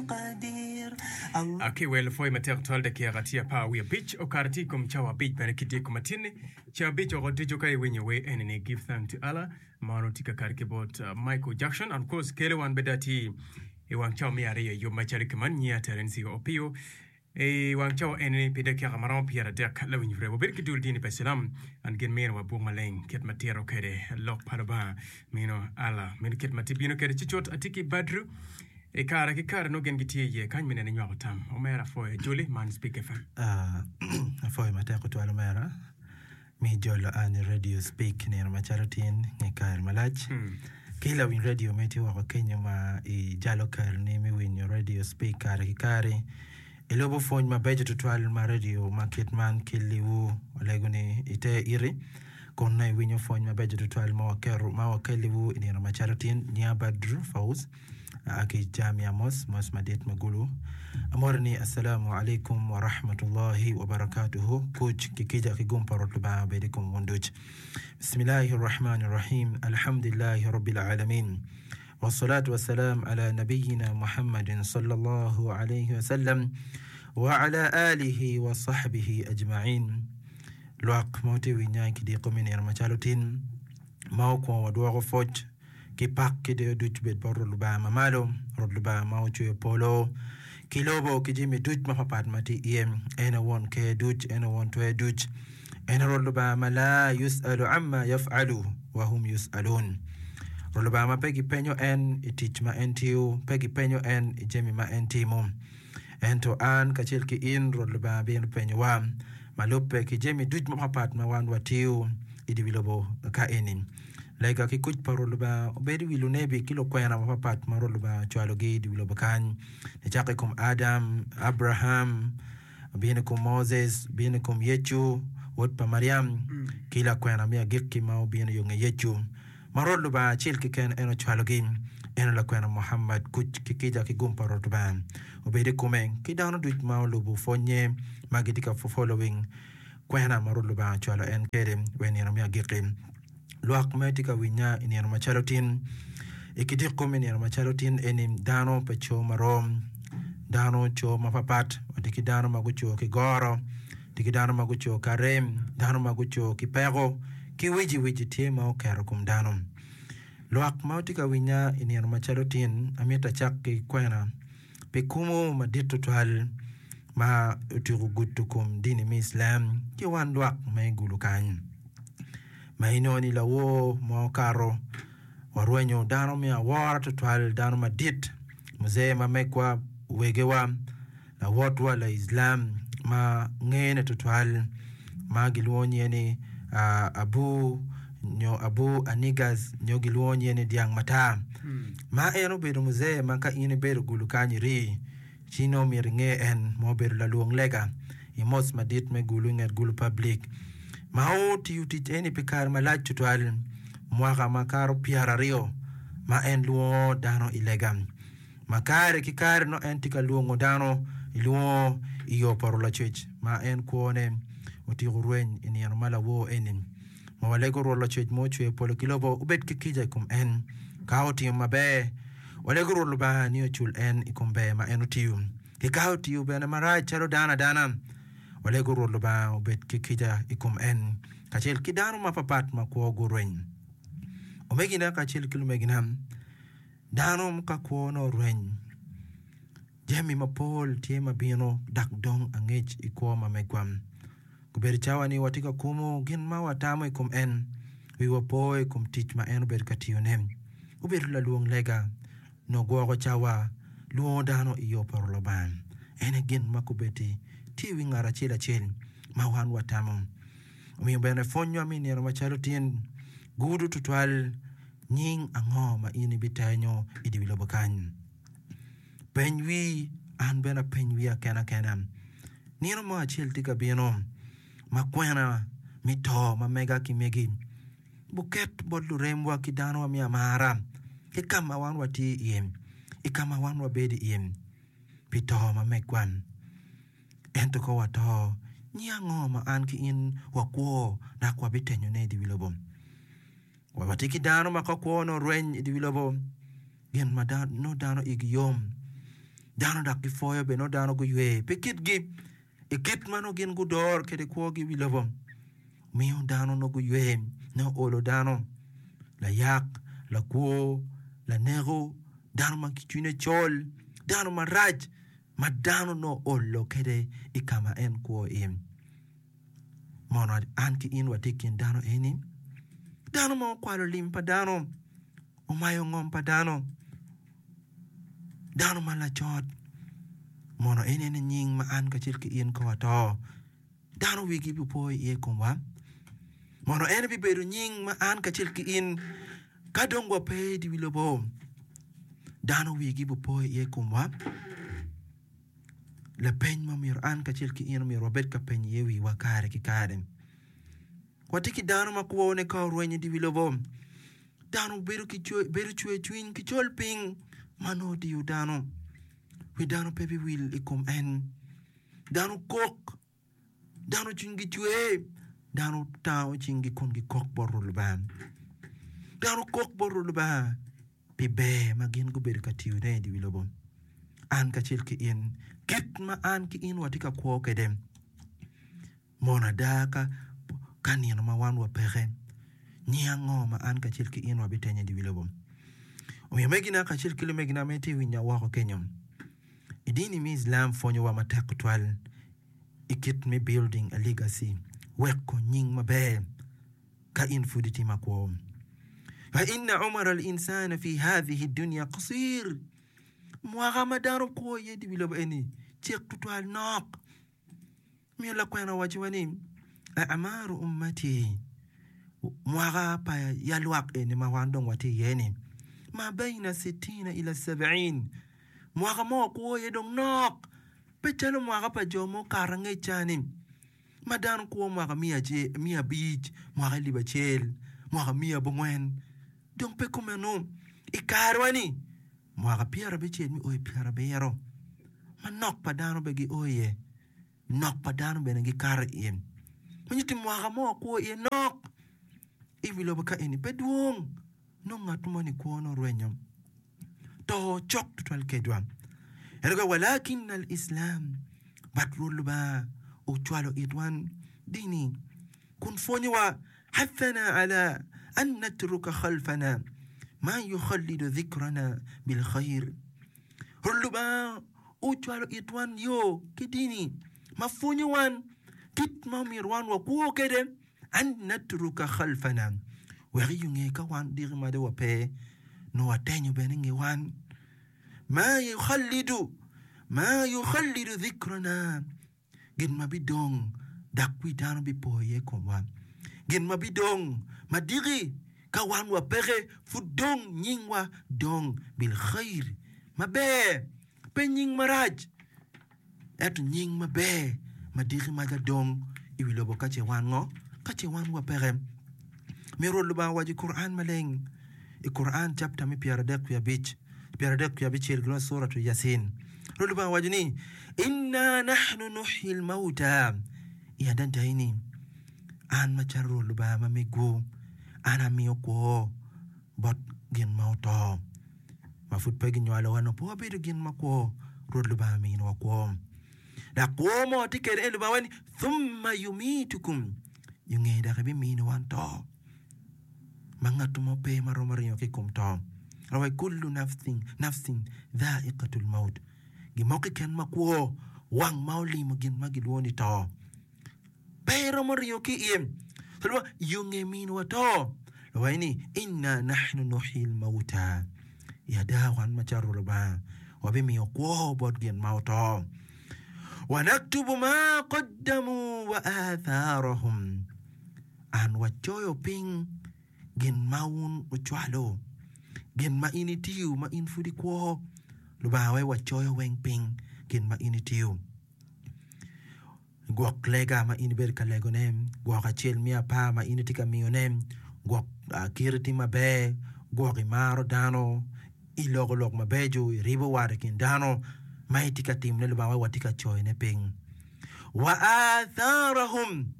Ki wel pwoy matek twal dakika tye apar wiye abic okato tye i kom cawa abic bene ki dyeko matinni ca abic oko ducu ka iwinyo wer eni ni Give Thanks to Allah ma onongo tye ka kato ki bot Michael Jackson and of course kelo wan bene atir i wang cawa me aryo i yub macalo ki man nyiya Terencio Opio I wang cawa eni pi dakika ma romo pyeradek, lawiny pire wabedo ki dul dini pa Cilam and gin mino wa buk maleng kit ma tito kwede lok pa Lubanga mino Allah mino kit ma tye bino kwede ci cut atye ki Badru I kare ki kare nongo gin gitye iye kany me nene nywako tam omera apwoyo ajoli man Speak FM. Apwoyo matek tutwal omera. Mi jolo an i Radio Speak nino macalo tin nge kare malac. Ki lawiny radio me tye woko kenyo ma i jalo keroni me winyo Radio Speak kare ki kare. Ilubo pwony mabeco tutwal ma radio ma kit man keliwu. Walego ni iter iti kun nongo iwinyo pwony mabeco tutwal ma waketo ma wakeliwu i nino macalo tin. Nyinga Badru Fauz. Aa ki i Jamia Mos, mos madit me Gulu. Amoti ni Assalamu alaikum wa rahmatullahi wa barakatuhu, kuc ki kica ki gum pa Rwot Lubanga obed i kom wun duc. Bismillahi Rahmani Rahim, Alhamdulillahi Rabbil Alamin, Wassalatu wassalam ala Nabiyina Muhammadin sallallahu alayhi wa sallam wa ala alihi wa sahbihi ajma'in. Lwak ma wutye winya i kidiko me nino macalo tin ma okwongo wadwoko pwoc ki pak ki deyo ducu bed bot Rwot Lubanga Mamalo, Rwot Lubanga ma ocweyo polo ki lobo ki jami ducu mapatpat ma tye iye. En aye won ker duc, en aye won twer duc, en aye Rwot Lubanga ma la yucalu amma yafalu wa hum yucalun. Rwot Lubanga ma pe gipenyo en i tic ma en tiyo, pe gipenyo en i jami ma en timo. Ento an kacel ki in, Rwot Lubanga bino penyowa ma lubbe ki jami ducu mapatpat ma wan watiyo i dye wi lobo ka eni. Lega ki kuc pa Rwot Lubanga obed i wi lunebi ki lukwena mapatpat ma Rwot Lubanga ocwalogi i dye wi lobo kany, nicako i kom Adam, Abraham, obino i kom Moses, obino i kom Yecu, wod pa Maliam, ki lakwena me agikki ma obino yo nge Yecu, ma Rwot Lubanga acel keken en ocwalogi, en aye lakwena Muhammad, kuc ki kica ki gum pa Rwot Lubanga obed i kome, ki dano ducu ma olubo pwonnye ma gitye ka following kwena ma Rwot Lubanga ocwalo en kwede wa i nino me agikki. Lwak ma tye ka winya i nino macalo tin, i kidiko me nino macalo tin eni dano pe co marom, dano co mapapat, watye ki dano ma guco ki goro, tye ki dano ma guco ki arem, dano ma guco ki peko, ki wici wici tye ma oketo kom dano. Lwak ma tye ka winya i nino macalo tin, amito acak ki kwena pi kumu madit tutwal ma otyeko gudo kom dini me Islam ki wan lwak ma i gulu kany. Ma inongo ni lawor ma okato warwenyo dano me awora tutwal, dano madit, muzee ma megwa, wegewa, lawotwa Laislam ma ngene tutwal ma gilwongo nyinge ni Abu nyo Abu Anigas nyo gilwongo nyinge ni Dyang Matar. Ma en obedo muzee ma ka in ibedo gulu kany iri ci nongo myero inge en ma obedo lalwong lega i mosque madit me Gulu i nget Gulu Public ma otiyo tic eni pi kare malac tutwal mwaka makato pyeraryo ma en lwongo dano i lega. Ma kare ki kare nongo en tye ka lwongo dano i lwongo i yo poto lacwec ma en kwone otyeko rweny i nino ma lawor eni. Ma walego Rwot Lacwec ma ocweyo polo ki lobo obed ki kica i kom en. Ka otimo maber, walego Rwot Lubanga ni ocul en i kom ber ma en otiyo. Ki ka otiyo bene marac calo dano adana, walego Rwot Lubanga obed ki kica i kom en kacel ki dano mapapat ma kwo gurweny. Omegina kacel ki lumegina, Dano ka kwone orweny, jami mapol tye ma bino dok dong angec i kwo ma megwa. Gubedo cawa ni watye ka kumo gin ma watamo i kom en, wiwa po i kom tic ma en obedo ka tiyone. Obedo lalwong lega, nongo gwoko cawa, lwongo dano i yo pa Lubanga. En aye gin ma kobeddi tye i wi ngat acel acel ma wan watamo. Omiyo bene pwonywa me nino macalo tin gudo tutwal. Nying ango ma in ibitenyo i dye wi lobo kany? Peny wii, an bene apeny wiya kena kena. Nino mo acel tye ka bino ma kwena me to ma mega ki megi buket bot luremwa ki danowa me amara ki ka ma wan watye iye, i ka ma wan wabedo iye pi to ma megwa. Ento ka wato, nying ango ma an ki in wakwo dok wabitenyone i dye wi lobo? Wa watye ki dano ma ka kwone orweny i dye wi lobo, gin ma nongo dano igi yom. Dano dok gipwoyo bene nongo dano guywe pi kitgi i kit ma nongo gin gudoro kwede kwogi i wi lobo. Miyo dano nongo guywe nongo olo dano layak, lakwo, laneko, dano ma cwinye col, dano marac ma dano nongo olo kwede i ka ma en kwo iye. Mono an ki in watye i kin dano eni? Dano ma okwalo lim pa dano, omayo ngom pa dano, dano ma lacot, mono en aye nying ma an kacel ki in ka wato, dano wigi bipo iye i komwa? Mono en bibedo nying ma an kacel ki in ka dong wape i wi lobo, dano wigi bipo iye i komwa? Lapeny ma myero an kacel ki in omyero wabed ka penyo iye wiwa kare ki kare. Watye ki dano ma kwone ka orwenyo i dye wi lobo. Dano bedo ki bedo cwercwiny ki col piny ma nongo odiyo dano. Wi dano pe biwil i kom en. Dano kok, dano cwinygi cwer, dano tango cinggi kun gikok bot Rwot Lubanga. Dano kok bot Rwot Lubanga pi ber ma gin gubedo ka tiyone i dye wi lobo. An kacel ki in, kit ma an ki in watye ka kwo kwede, Mono ada ka ka nino ma wan wapeke, nying ango ma an kacel ki in wabitenyo i dye wi lobo? Omiyo omegina kacel ki lumegina ma itye ka winya woko kenyo, i dini me Islam pwonyowa matek tutwal i kit me building a legacy, weko nying maber ka in pud itye makwo. Fa inna umra al-insana fi hadhihi dunya qasir, mwaka ma dano kwo iye i dye wi lobo eni cek tutwal, nok. Omiyo lakwena owacciwa ni, A'maru ummati, mwaka pa yalwak eni ma wan dong watye iye-ni, ma baina sittina ila sab'in, mwaka ma wakwo iye dong nok, pe calo mwaka pa jo mukato angec ca-ni, ma dano kwo mwaka miya abic, mwaka alip acel, mwaka miya abongwen, dong pe kumeno. I karewa-ni, Mwaka pyerabicel me o i pyerabiro, ma nok pa dano pe gio iye, nok pa dano bene gikato iye. Ma nyutti mwaka mo wakwo iye nok i wi lobo ka eni pe dwong, nongo ngat moni kwone orwenyo, to cok tutwal kedwa. Ento ka walakin al Islam, but Rwot Lubanga ocwalo itwan dini kun pwonyowa Hathana ala an natruka khalfana ma yukhallidu dhikrana bil khair. Rwot Lubanga ocwalo itwan yo ki dini ma pwonyo wan kit ma omyero wan wakwo kwede, an natruka khalfana, wek i nge ka wan diki ma dong wape, nongo watenyo bene i nge wan, ma yukhallidu, ma yukhallidu dhikrana. Gin ma bidong dok wi dano bipo iye i komwa. Gin ma bidong ma diki ka wan wapeke pud dong nyingwa dong bil khair, maber, pe nying marac, ento nying maber ma diki maca dong i wi lobo ka ce wan ngo? Ka ce wan wapeke. Myero Rwot Lubanga owaco i Quran maleng i Quran chapter me 35 36 gin Suratu Yasin. Rwot Lubanga owaco ni, Inna nahnu nuhyil mauta, I adada ni, an macalo Rwot Lubanga ma megwu, an amiyo kwo bot gin ma oto. Ma pud pe ginywalowa nongo pe wabedo gin makwo, Rwot Lubanga miniwa kwo. Dok kwo ma watye kwede en Lubanga waco ni, Thumma yumitukum, i nge dok ebiminiwa to. ma ngat mo pe ma romo ringo ki i kom to. Rawai kullu nafsin, nafsin dhaiqatul maut. Gin mo keken ma kwo, wang ma olimo gin ma gilwongo ni to, pe iromo ringo ki iye. So yo nge minwa to, rawai ni inna nahnu nuhyil mauta. I ada wan macalo Lubanga wabimiyo kwo bot gin ma oto. Wa naktubu ma qaddamu wa atharahum. An wacoyo piny gin ma wun wucwalo, gin ma in itiyo ma in pud ikwo. Lubanga wek wacoyo weng piny gin ma in itiyo. Gwok lega ma in ibedo ka legone, gwok acel me apar ma in itye ka miyone, gwok kiti tye maber, gwok imaro dano, iloko lok mabeco, iribo wat i kin dano ma itye ka timone Lubanga wek watye ka coyone piny. Wa atharahum.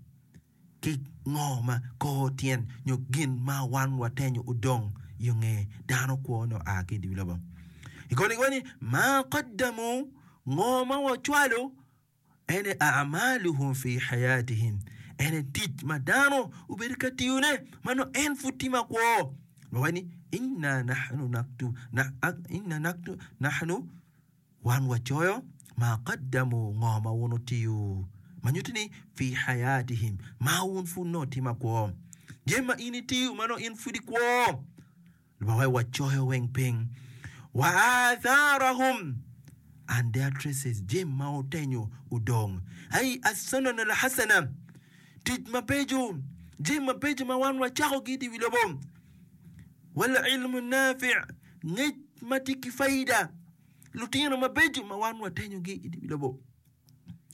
ki ngo ma kor tyen nyo gin ma wan watenyo odong yo nge dano kwo nyo a ki i dye lobo. I koni giwaco ni, Ma qaddamu, ngo ma wacwalo, ene a'maluhum fi hayatihim, ene tic ma dano obedo ka tiyone ma nongo en pud tye makwo. Wawaco ni, Inna nahnu naktu, inna naktu, nahnu, wan wacoyo, ma qaddamu, ngo ma wun wutiyo, ma nyuto ni, fi hayatihim, ma wun pud nongo tye makwo. Jami ma in itiyo ma nongo in pud ikwo. Lubanga wek wacoyo weng piny. Wa atharahum, and their traces, jami ma otenyo odong. Ai as-sunan al-hasana, tic mabeco, jami mabeco ma wan wacakogi i wi lobo. Wal ilmu nafi', ngec ma tye ki faida, lutino mabeco ma wan watenyogi i wi lobo.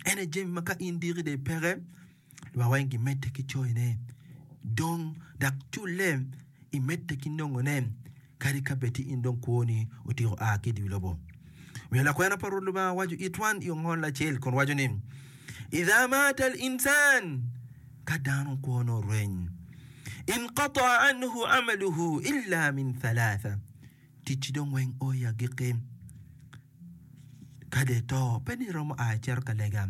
En aye jami ma ka in diki dong ipeke, lwak weng gimedde ki coyone dong dok culle imedde ki nongone kadi ka bed ti in dong kwoni otyeko a ki i dye lobo. Omiyo lakwena pa Rwot Lubanga owaco it wan i ongol acel kun waco ni, Idha mata al-insan, ka dano kwone orweny, inqata'a anhu amaluhu illa min thalatha, ticci dong weng o i agikki. Ka dong ito, pe dong iromo a icito ka lega.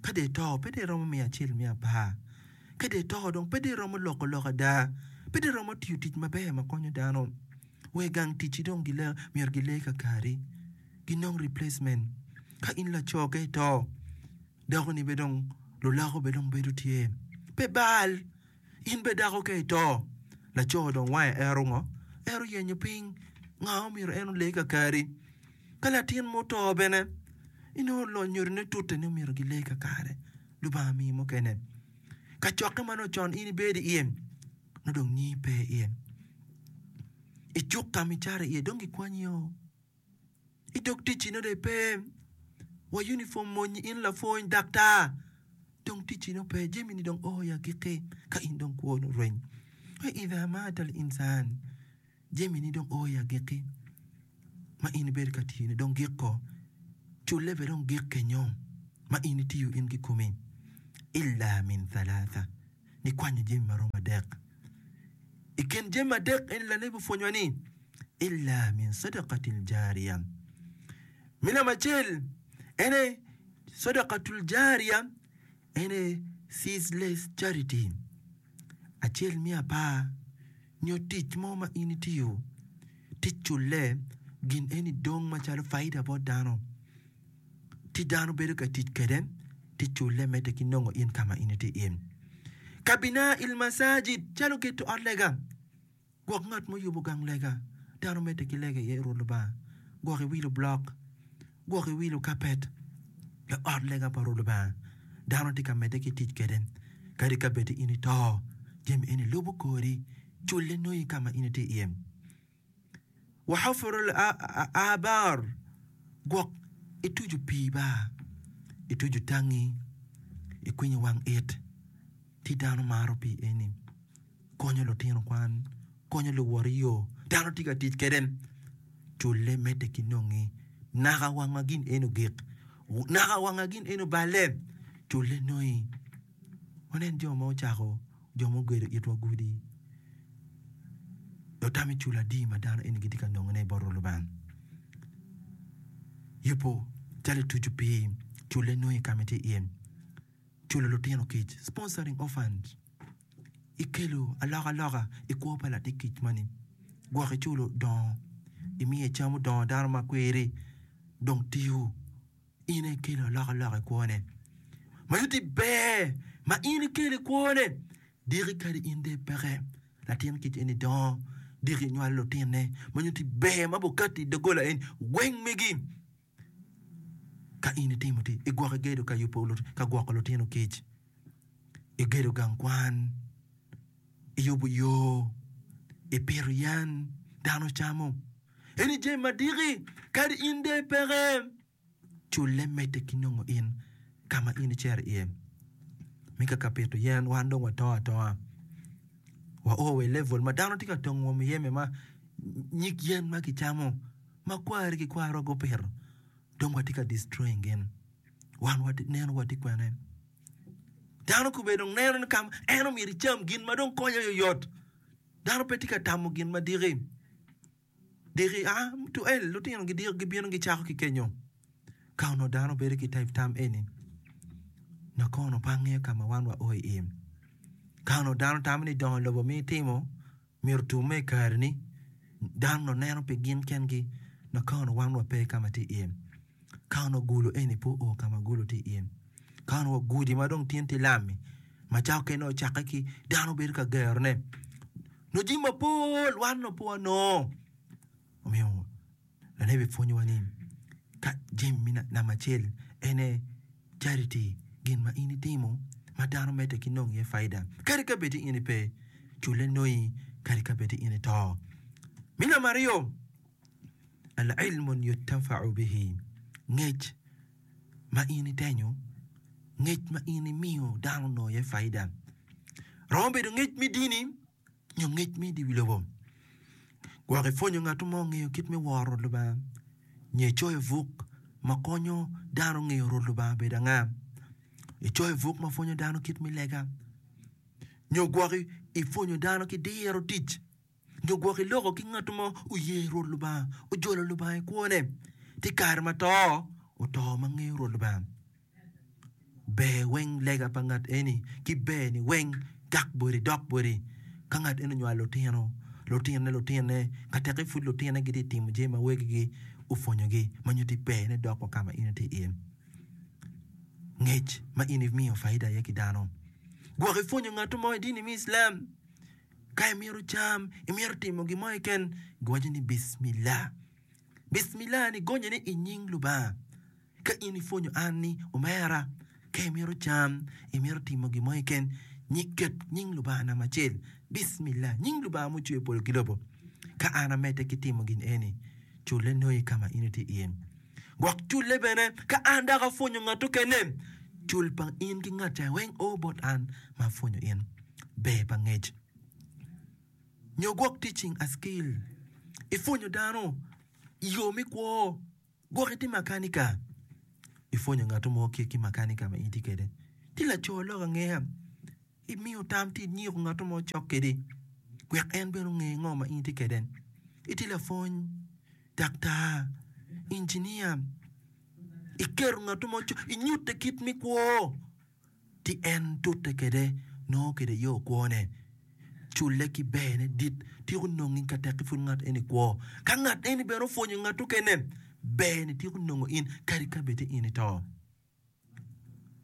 Ka dong ito, pe dong iromo miyo acel me apar. Ka dong ito, dong pe dong iromo loko lok ada. Pe dong iromo tiyo tic maber ma konyo dano. Wa i gang ticci dong myero gile kakari, ginong replacement. Ka in laco ka ito, dakoni bene dong lulako bene dong bedo tye. Pe bal. In bene dako ka ito, laco dong wange ero ngo? Ero yenyo piny. Nga omyero en ole kakari? Ka latin mo oto bene, inongo lunyodone tute ni omyero gile kakare. Lubanga miyi mukene. Kacokke ma nongo con in ibedo iye, nongo dong nyingi pe iye. I cuk ka ma icato iye dong gikwanyio. I dog ticci nongo dong ipe wa uniform mony in lapwony daktar dong ticci nongo pe jami-ni dong o i agikki ka in dong kwo nongo orweny. Wa idha mata al insan jami-ni dong o i agikki ma in ibedo ka tiyone dong giko culle bene dong gik kenyo ma in itiyo in kikomi illa min thalatha nikwanyo jami maromo adek. I kin jami adek eni lanebi opwonyowa ni, Illa min sadakatil jariya. Me namba acel en aye sadakatul jariya, en aye ceaseless charity, acel me apar nyo tic mo ma in itiyo tic culle gin eni dong macalo faida bot dano. Ci dano bedo ka tic kwede ci culle medde ki nongo in ka ma in itye iye. Ka bina il masajid calo geto ot lega, gwok ngat muyubo gang lega, dano medde ki lega iye Rwot Lubanga, gwok iwilo blok, gwok iwilo kapet i ot lega pa Rwot Lubanga, dano tye ka medde ki tic kwede kadi ka bed in ito, jami eni lubo kori, culle nongi ka ma in itye iye. Wa hufurul aabar, gwok ituco pii ba, ituco tangi, ikwinyo wang it, ci dano maro pii eni, konyo lutino kwan, konyo luwot i yo, dano tye ka tic kwede, culle medde ki nongi naka wang ma gin eni ogik, naka wang ma gin eni oballe, culle nongi. Wanen jo ma ocako jo ma ogedo itwa gudi. Otam i cul adi ma dano eni gitye ka nongone bot Rwot Lubanga. Yubo calo ituco pii, culle nongo i ka ma itye iye, culo lutino kic, sponsoring orphans, ikelo alokaloka i kwo pa latin kic moni, gwok iculo dongo, imiye cam odongo dano ma kwiri dong tiyo. In aye ikelo alokaloka i kwone. Ma nyutti ber ma in ikelo i kwone. Diki kadi in dong ipeke, latin kic eni dongo, diki nywalo lutinne. Ma nyutti ber ma bukatti i doggola eni weng megi. Ka in itimo ti, igwoko igedo ka yubo ka gwoko lutino kic, igedo gang kwan, iyubo yo, ipito yen, dano camo. Eni jami ma diki kadi in dong ipeke, culle medde ki nongo in ka ma in icito iye. Me ka ka pito yen wan dong watongo atonga, wao wa i level ma dano tye ka tongo wa muyeme ma nyig yen ma kicamo ma kwari ki kwarwa gupito dong watye ka destroying gin. Wan neno watye kwene. Dano kobedo dong neno ni ka en omyero ecam gin ma dong konye oyot. Dano pe tye ka tamo gin ma diki. Diki a to el lutino gidiko gibino gicako ki kenyo. Ka onongo dano bedo ki type tam eni, nongo kono pe angeyo ka ma wan wa o iye. Ka onongo dano tamo ni dongo lobo ma itimo myero otumme i kareni, dano onongo neno pi gin kengi, nongo ka onongo wan wape ka ma tye iye. Ka onongo gulo eni pe oo ka ma gulo tye iye. Ka onongo gudi ma dong tin tye lam-mi, ma cawa okene ocakke ki dano bedo ka gerone, nongo jami mapol wan onongo pe wanongo. Omiyo lanebi pwonyowa ni ka jami me namba acel en aye charity, gin ma in itimo ma dano medde ki nongo iye faida kadi ka bed ni in ipe, culle nongi kadi ka bed ni in ito. Me namba aryo, Al-ilmun yuntafau bihi, ngec ma in itenyo, ngec ma in imiyo dano onongo iye faida. Romo bedo ngec me dini nyo ngec me i wi lobo. Gwok ipwonyo ngat mo ngeyo kit me woro Lubanga nyo icoyo buk ma konyo dano ngeyo Rwot Lubanga obedo anga. Icoyo buk ma pwonyo dano kit me lega nyo gwok ipwonyo dano ki diro tic. Nyo gwok iloko ki ngat mo oye Rwot Lubanga, ojolo Lubanga i kwone, ci kare ma to, oto ma ngeyo Rwot Lubanga. Ber weng lega pa ngat eni ki ber-ni weng gak boti dok boti. Ka ngat eni onywalo lutino, lutinone lutinone, ka teke pud lutinone gitye ka timo jami ma wegigi opwonyogi ma nyutti berne dok wa ka ma in itye iye. Ngec ma in imiyo faida iye ki dano. Gwok ipwonyo ngat mo i dini me Islam. Ka imito cam, imito timo gin mo keken, giwaco ni Bismillah. Bismillah ni gonye ni i nying Lubanga. Ka in ipwonyo an ni omera, ka imito cam, imito timo gin mo keken, ket nying Lubanga namba acel. Bismillah, nying Lubanga mucweyo polo ki lobo. Ka an amedde ki timo gin eni, culle nongi ka ma in itye iye. Gwok culle bene ka an dok apwonyo ngat okene, cul pa in ki ngat ca weng o bot an ma apwonyo in. Ber pa ngec nyo gwok teaching a skill, ipwonyo dano i yo me kwo, gwok itye makanika, ipwonyo ngat mo kit ki makanika ma in itye kwede. Tye laco lok angeya, imiyo tam ci inyiko ngat mo cok kwedi wek en bene onge ngo ma in itye kwede. Itye lapwony, daktar, injinia, iketo ngat mo inyute kit me kwo ci en tute kwede nongo kwede yo kwone culle ki berne dit tiko nongi ka tekki pud ngat eni kwo. Ka ngat eni bene opwonyo ngat okene berni tiko nongo in kadi ka bed ni in ito.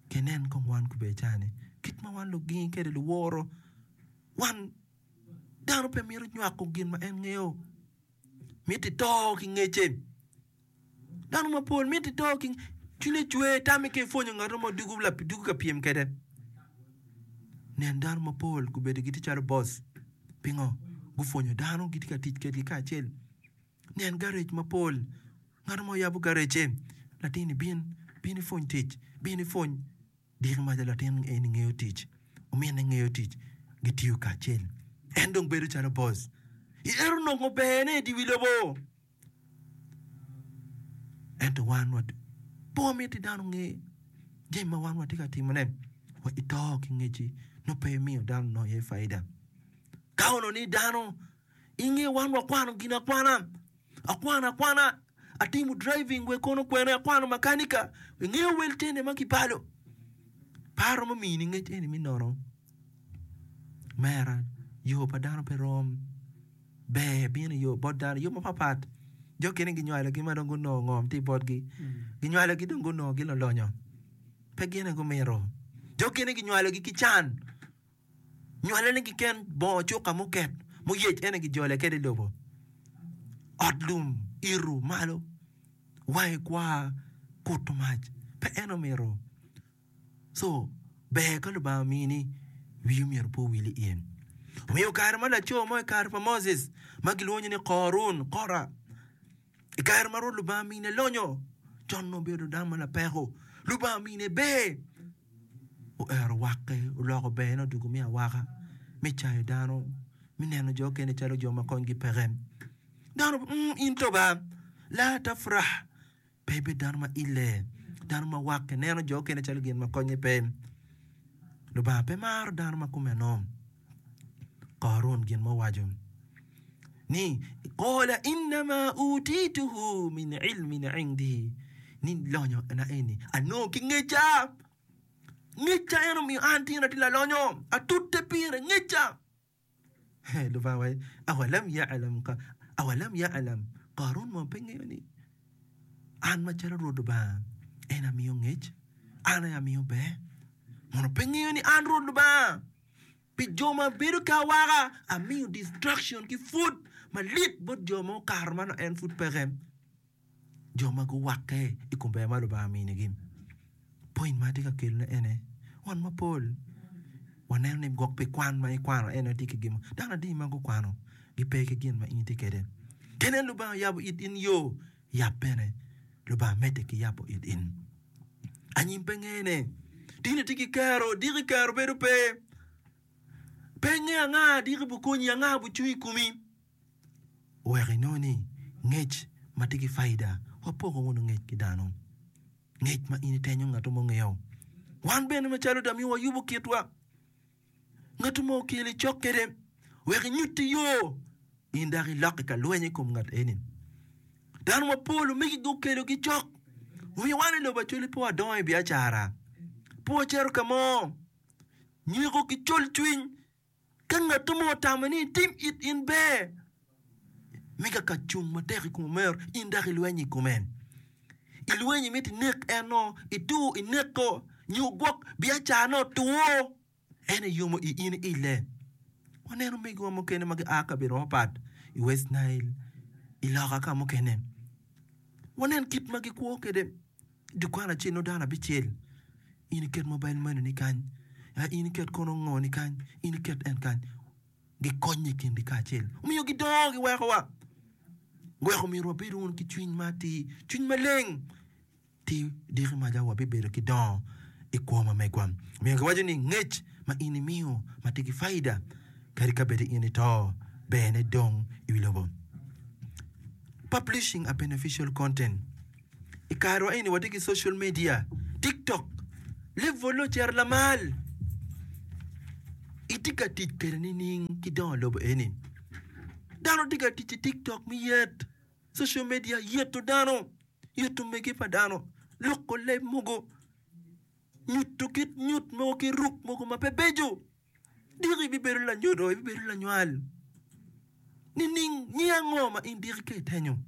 Kinen kong wan kubbe cani kit ma wan lugingi kwede luworo wan dano pe mito nywako gin ma en ngeyo miti to ki ngecce dano mapol miti to ki cwinye cwer tame ka ipwonyo ngat mo dugo ka pyem kwede nen dano mapol gubedo gitye calo boss pingo gupwonyo dano gitye ka tic kwedgi kacel. Nen garej mapol, ngat mo yabo garejce, latin-ni bin, bin ipwony tic, bin ipwony. Diki maca latin eni ngeyo tic, ominne ngeyo tic, gitiyo kacel. En dong bedo calo boss. Ento onongo berne i dye wi lobo. Ento wan pe wamiti dano onge jami ma wan watye ka timone. Wa ito ki ngecci nongo pe imiyo dano onongo iye faida. Ka onongo ni dano I nge wan wakwano gin akwana, akwano akwana, atimo driving wek kono kwene akwano makanika, ingeyo wel cene ma kibalo. Pe aromo mini ngec eni me nono. Mera, yo pa dano pe rom. Ber bino i yo bot dano i yo mapapat. Jo okene ginywalogi ma dong gunongo ngom tye botgi. Ginywalogi dong gunongo gin lulonyo. Pe gin aye gumito. Jo okene ginywalogi ki can. Nywalene keken bongo cuka muket muyec ene gijole kwede i lobo, ot lum ito malo wange kwar kuto mac pe en omito. Co ber ka Lubanga omini wii myero pe owil iye. Omiyo kare ma laco mo i kare pa Moses ma gilwongo ni Korun, Kora, i kare ma Rwot Lubanga omine lonyo, con onongo obedo dano ma lapeko, Lubanga omine ber. Oero wakke, oloko berne odwogo me awaka, me cayo dano, me neno jo okene calo jo ma konygi peke. Dano, mm, in to ba, la tafrah, pe ibed dano ma ille, dano ma wakke, neno jo okene calo gin ma konye pe. Lubanga pe maro dano ma kumeno. Korun gin ma owaco. Ni, Qala innama utituhu min ilmin indi, ni lonyo na eni anongo ki ngecca, ngecca en omiyo an tin atye lalonyo, atute pire ngecca. Lubanga waco ni, awalam ya'lam awalam ya'lam, Qarun mono pe ngeyo ni an macalo Rwot Lubanga en amiyo ngec, an aye amiyo ber? Mono pe ngeyo ni an Rwot Lubanga? Pi jo ma bedo ki awaka, amiyo distraction ki pwod malit bot jo ma okato ma nongo en pud peke, jo ma guwakke i kom ber ma Lubanga ominigi. Point ma atye ka kelone ene, wan mapol waneno ni gwok pi kwan ma ikwano en aye tye ki gin mo, dano adi ma gukwano gipe ki gin ma in itye kwede. Kene Lubanga oyabo it in yo, yab bene Lubanga medde ki yabo it in. Anyim pe ngene. Tin itye ki kero, diki kero bedo pe. Pe ingeyo anga diki bukonyi, anga bucung i komi. Wek inongo ni ngec ma tye ki faida, wapoko wunu ngec ki dano. Ngec ma in itenyo ngat mo ngeyo. Wan bene macalo damiyo wayubo kitwa. Ngat mo okeli cok kwede wek inyutti yo, in dok ilokke ka lweny i kom ngat eni. Dano mapol omegi gukelogi cok, omiyo wan i lobo Acholi pe wadongo i biacara, pe wacito ka mo. Nyeko ki colcwiny, ka ngat mo otamo ni itim it in ber, me kaka cung matek i kom omero, in dok ilweny i kome. Ilweny imito inek en-o, itur ineko, nyo gwok biacarane otwo, en eyomo i in ille. Waneno omegiwa mukene ma gia kabedo mapat i West Nile, i loka ka mukene. Wanen kit ma gikwo kwede. Dukan acel nongo dano abicel, in iket mobile money ni kany, in iket kono ngo ni kany, in iket en kany. Gikonye i kingi kacel. Omiyo gidongo giwekowa. Weko myero wabed wunu ki cwiny ma atir, cwiny maleng. Ti diki maca wabibedo ki dongo i kwo ma megwa. Omiyo giwaco ni ngec ma in imiyo ma tye ki faida kadi ka bed in ito, berne dong i wi lobo. Publishing a beneficial content. I karewa eni watye ki social media, tiktok, level-le ocito lamal. Itye ka tic kwede nining ki dongo lobo eni? Dano tye ka tic ki tiktok me yet, social media yeto dano, yeto mege pa dano, loko leb mogo, nyuto kit nyut mogo ki ruk mogo ma pe beco. Diki ibibedo lanyodo, ibibedo lanywal nining? Nying ango ma in diki ka itenyo?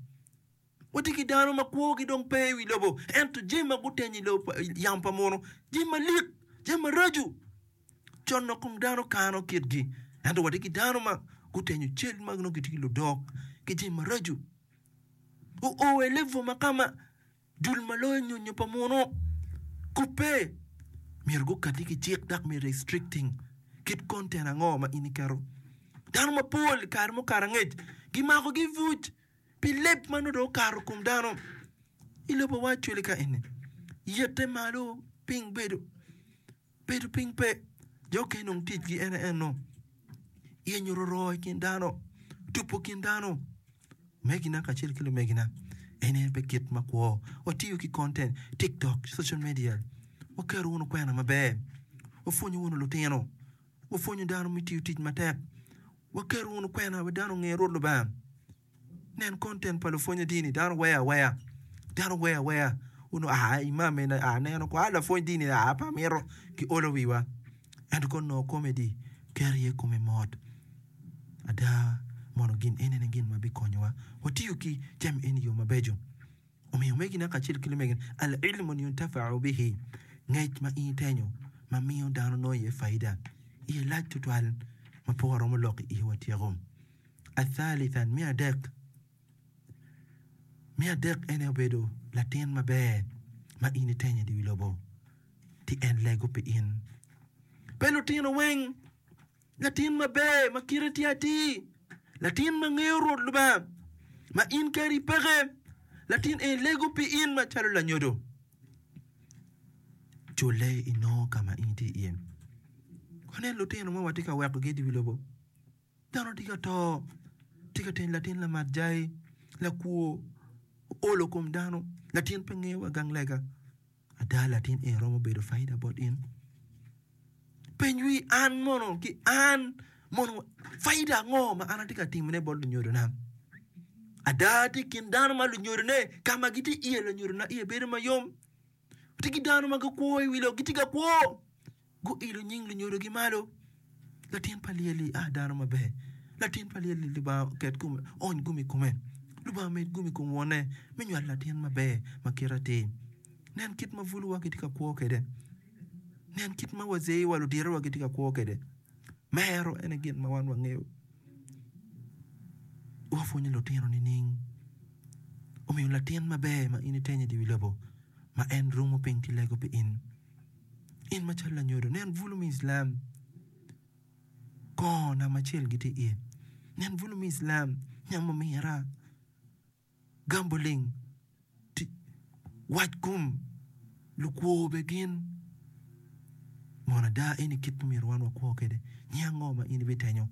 Watye ki dano ma kwogi dong pe i wi lobo, ento jami ma gutenyo i lobo yamo pa muno, jami malik, jami maraco, con dok kong dano kano kitgi. Ento watye ki dano ma gutenyo cal ma nongo gitye ki ludok ki jami maraco. Oo i level ma kama dul ma loyo nyonyo pa muno kubbe myero gukati ki cik dok me restricting kit content ango ma in iketo. Dano mapol i kare mukato angec gimakogi buc. Pi leb ma nongo dong okato kom dano i lobo wa actually ka eni yette malo piny bedo bedo piny pe jo okene dong ticgi en aye eno yenyo roro i kin dano tubo kin dano omegina kacel ki lumegina en aye pe kit ma kwo watiyo ki content tiktok social media waketo wunu kwena maber wapwonyo wunu lutino wapwonyo dano me tiyo tic matek Waketo wunu kwena wek dano onge Rwot Lubanga. Nen content pa lupwonye dini, dano weyo aweya, dano weyo aweya. Wunu aa imam eni aa neno ko aa lapwony dini aa pe amito ki olo wiwa. Ento ka onongo comedy keto iye kome mot. Ada mono gin eni aye gin ma bikonyowa. Watiyo ki jami eni i yo mabeco. Omiyo omegina kacel ki lumegina, al-ilmun yuntafau bihi, ngec ma in itenyo ma miyo dano nongo iye faida, iye lac tutwal ma pe waromo lok iye watyeko. Athalithan, me adek, me adek en aye obedo latin maber ma in itenyo i wi lobo, ti en lego pi in. Pe lutino weng Latin maber ma kite tye atir, latin ma ngeyo Rwot Lubanga, ma in kadi peke, latin eni lego pi in macalo lanyodo. Culle inongo ka ma in itye iye. Wanen lutino ma watye ka wekogi i wi lobo. Dano tye ka to, tye ka tenyo latin lamat jai, lakwo, olo kom dano, latin pe ngeyo wa gang lega. Ada latin eni romo bedo faida bot in? Peny wi an mono ki an. Mono faida ango ma an atye ka timone bot lunyodona? Ada tye i kin dano ma lunyodone ka ma gitye iye lunyodona iye bedo mayom. Tye ki dano ma gikwo i wi lobo gitye ka kwo guilo nying lunyodogi malo. Latin pa lyel-li a dano maber. Latin pa lyel-li Lubanga oket kome oony gum i kome. Lubanga omed gum i kom wonne me nywalo latin maber ma kite atir. Nen kit ma buluwa gitye ka kwo kwede. Nen kit ma wazeewa luditowa gitye ka kwo kwede. Mero en aye gin ma wan wangeyo. Wapwonyo lutino nining? Omiyo latin maber ma in itenyo i dye wi lobo ma en rumo piny ki lego pi in. In macalo lanyodo, nen bulu me Islam kongo namba acel gitye iye. Nen bulu me Islam nyamo mira. Gamboling, wac kom lukwo bene gin mono ada eni kit ma myero wan wakwo kwede? Nying ango ma in ibitenyo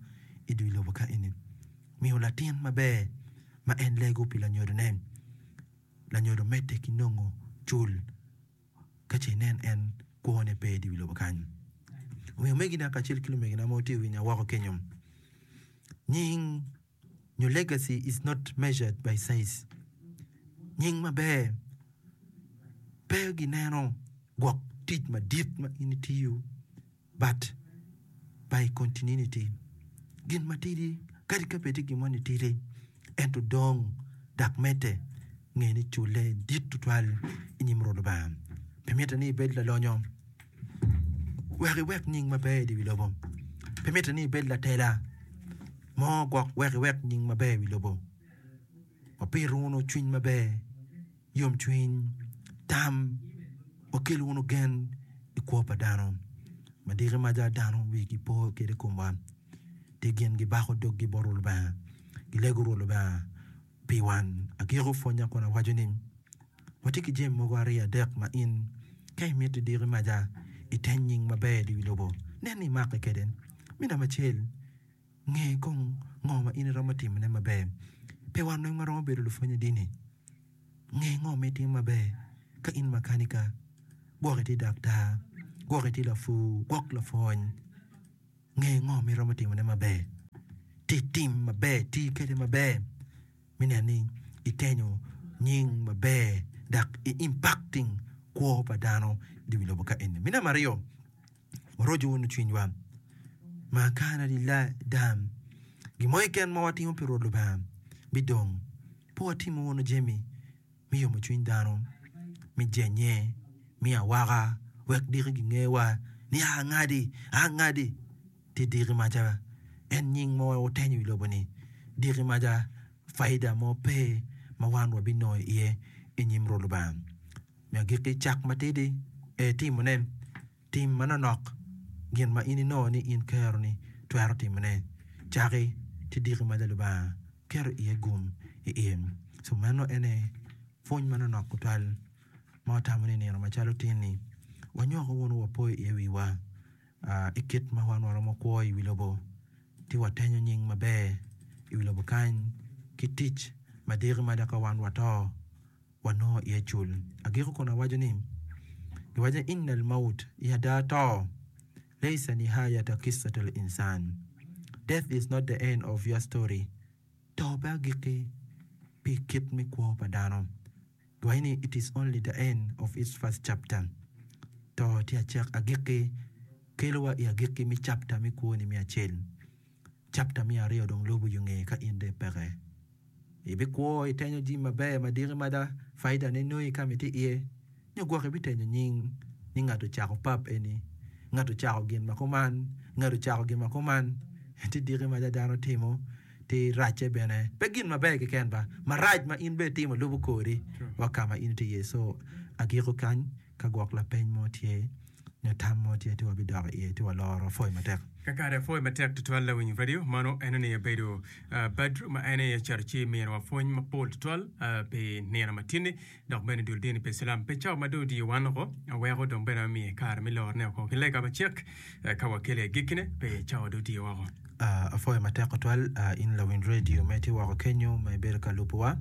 i dye lobo ka eni? Miyo latin maber ma en lego pi lanyodone, lanyodo medde ki nongo cul ka ce inen en kwone pe i dye lobo kany. Omiyo omegina kacel ki lumegina ma wutye ka winya woko kenyo, nying nyo legacy is not measured by size. Nying maber pe gineno gwok tic madit ma in itiyo but by continuity. Gin matidi kadi ka bed ni gin moni tidi ento dong dok medde nge ni culle dit tutwal i nyim Rwot Lubanga. Pe mitte ni ibed lalonyo wek iwek nying maber i wi lobo. Pe mitte ni ibed latela. Mo gwok wek iwek nying maber i wi lobo. Wapit wunu cwiny maber, yomcwiny, tam, wakel wunu gen i kwo pa dano. Ma diki maca dano wigi po kwede i komwa, ti gin gibako doggi bot Rwot Lubanga, gilego Rwot Lubanga pi wan. Agiko pwonya kun awaco ni, watye ki jami mogo aryo adek ma in ka imiti diki maca iteny nying maber i wi lobo, nen ni imakke kwede. Me namba acel, Nge kong ngo ma in iromo timone maber. Pe wan weng waromo bedo lupwonye dini. Nge ngo ma itimo maber. Ka in makanika, gwok itye daktar, gwok itye lapur, gwok lapwony, nge ngo ma iromo timone maber. Ti tim maber, ti kwede maber me neno ni itenyo nying maber dok i impacting kwo pa dano i wi lobo ka eni. Me namba aryo. Waroco wunu cwinywa. Ma kana lila dam, gin mo keken ma watimo pi Rwot Lubanga bidong. Pe watimo wunu jami me yomo cwiny dano, me jenye, me awaka, wek diki gingewa ni a ngadi, a ngadi. Ti diki maca en nying ma wutenyo i lobo-ni, diki maca faida mo pe ma wan wabinongo iye i nyim Rwot Lubanga. Me agikki, cak matidi ee timone. Tim manonok gin ma in inongo ni in keroni twero timone. Caki ti diki ma Lubanga keto iye gum i in. Co meno ene pwony manonok tutwal ma watamo ni nino macalo tin-ni wanywako wunu wapoyo iye wiwa i kit ma wan waromo kwo i wi lobo ci watenyo nying maber i wi lobo kany ki tic ma diki mada ka wan wato. wanongo iye cul. Agiko kun awaco ni, Giwaco ni, Inna al-maut, i ada to, laysa nihayata qissat al-insan, Death is not the end of your story, To pe agikki pi kit me kwo pa dano. Giwaco ni, It is only the end of its first chapter, To tye acek agikki kelowa i agikki me chapter me kwoni me acel. Chapter me aryo dong lubo yo nge ka in dong ipeke. Ibikwo itenyo jami maber madiki mada, faida ne nongi ka ma itye iye, nyo gwok ibitenyo nying ni ngat ocako pub eni, ngat ocako gin ma kuman, ngat ocako gin ma kuman. Ti diki mada dano timo, ti racce bene. Pe gin maber keken ba, marac ma in bene itimo lubo kori wa ka ma in itye iye. So agiko kany ka gwok lapeny mo tye. nyo tam mo tye ci wabidok iye ci waloro. Apwoyo matek. Kakare apwoyo matek tutwal lawiny radio mano eno ni obedo Badru ma en aye ocito ci miniwa pwony mapol tutwal pi nino matinni dok bene dul dini pa Islam pe cawa ma dong odiyo wan oko weko dong bene amiye kare me lorone oko ki lega macek ka wakelo i agikkine pe cawa dong odiyo woko. Apwoyo matek tutwal in lawiny radio ma itye woko kenyo ma ibedo ka lubowa.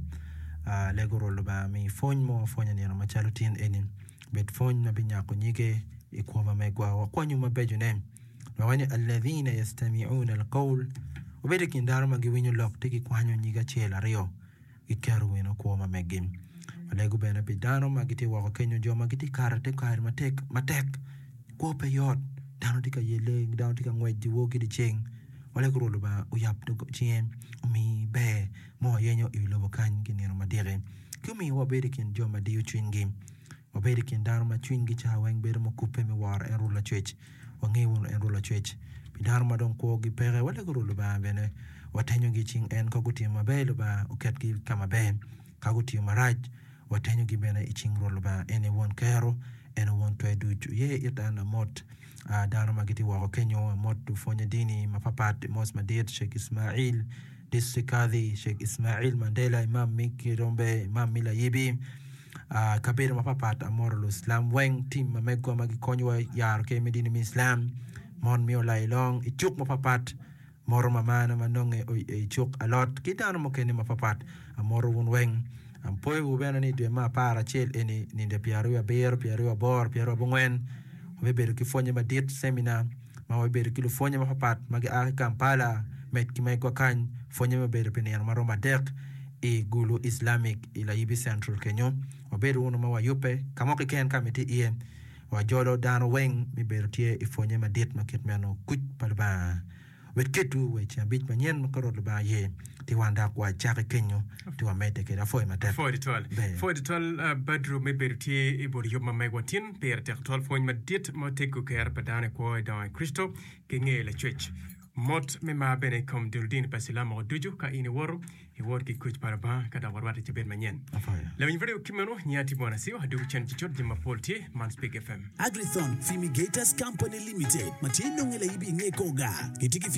Alego Rwot Lubanga mi pwony mo wapwonyo nino macalo tin eni. Bed pwony ma binyako nyige i kwo ma megwa. Wakwanyu mabecone. Lubanga waco ni, Alladhina yastami'una alqawl, Wabedo i kin dano ma giwinyo lok ci gikwanyo nyig acel aryo giketo wunu kwo ma meggi. Walego bene pi dano ma gitye woko kenyo, jo ma gitye ka kato i te kare matek matek. Kwo pe yot, dano tye ka yelle, dano tye ka ngwec dyewor ki dyeceng. Walego Rwot Lubanga oyab cinge omi ber ma wayenyo i wi lobo kany ki nino madiki, ki omi wabed i kin jo ma diyo cwinygi. Wabed i kin dano ma cwinygi ca weng bedo mukubbe me woro en Rwot Lacwec. Wange wunu en Rwot Lacwec. Pi dano ma dong kwogi peke, walego Rwot Lubanga bene watenyogi i cing en. Ka gutiyo maber, Lubanga oketgi ka maber. Ka gutiyo marac, watenyogi bene i cing Rwot Lubanga. En aye Won Kero, en aye Won Twer Duc. Wuye it an amot dano ma gitye woko kenyo, amot lupwonye dini mapapat, Mos Madit, Sheikh Ismail, District Kadhi, Sheikh Ismail Mandela, Imam me Kirombe, Imam me Layibi, kabedo mapapat amoto Luislam weng, tim ma megwa ma gikonyowa yaro ker me dini me Islam, mon me Olailong i cuk mapapat, moto mamana ma nonge i cuk alot ki dano mukene mapapat amoto wun weng. Apoyowu bene ni dwe me aparacel eni ninde pyeraryo abiro, pyeraryo aboro, pyeraryo abongwen wabibedo ki pwonye madit, ceminar, ma wabibedo ki lupwonye mapapat ma gia ki Kampala med ki megwa kany. Pwonye me obedo pi nino ma romo adek i Gulu Islamic i Layibi Central kenyo. Wabedo wunu ma wayubbe ka mo keken ka ma itye iye. Wajolo dano weng me bedo tye i pwonye madit ma kit meno. Kuc pa Lubanga obed kedwu wa i ceng abic manyen ma ka Rwot Lubanga ye, ci wan dok wacaki kenyo ci wamedde kwede. Apwoyo matek. Apwoyo tutwal. Ber. Pwoyo tutwal uh, Badru me bedo tye i but yub ma megwa tin. Pire tek tutwal pwony madit ma oteggo kero pa dano i kwo i dongo i Kricito ki ngeyo Lacwec. Mot me mar bene i kom dul dini pa Cilam woko ducu ka in iwoto, iwot ki kuc pa Lubanga ka dok warwatte cabit manyen. Lawiny radio ki meno, nyinga tye Bwana Siwa, adwogo cen cucut jami mapol tye, man Speak FM. Agrithon Fumigators Company Limited ma tye nonge layibi inge Koga gitye ki.